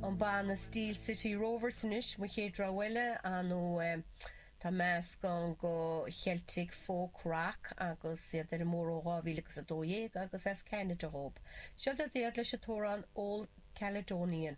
An banna Steel City Rovers anois, mo chéad rogha eile, ar ndóigh tá meascán de Cheiltic folk rock agus iad ar an mbóthar ó 2012 agus as Ceanada dhób. Seo iad leis an t-amhrán Old Caledonian.